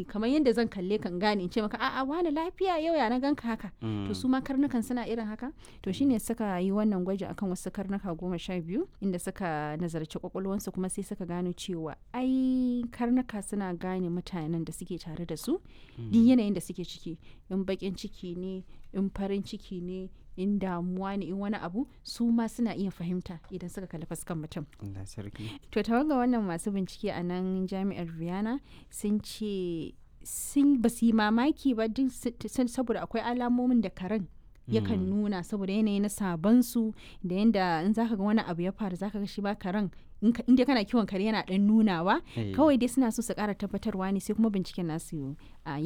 Kamar yadda zan kalle kan gane in ce maka, "A'a, wani lafiya? Yau ya na ganka haka?" To su ma karnukan suna irin haka. To shine suka yi wannan gwaji akan wasu karnuka 12, inda suka nazarci kwakwalwansu, kuma sai suka gano cewa ai karnuka suna gane mutanen da suke tare da su duk yanayin da suke ciki, in bakin ciki ne, in farin ciki ne, in damuwa ne, in wani abu, su ma suna iya fahimta idan suka kalli fuskan mutum. Allah sarki. To tawaga wannan masu bincike a nan jami'ar Vienna sun ce sun ba su yi mamaki ba duk saboda akwai alamomin da karen yakan nuna saboda yanayi na sabon su, da yanda in zaka ga wani abu ya faru, zaka ga shi ba karen, in dai kana kiwon kare, yana dan nunawa. Kawai dai suna so su kara tabbatarwa ne, sai kuma binciken nasu a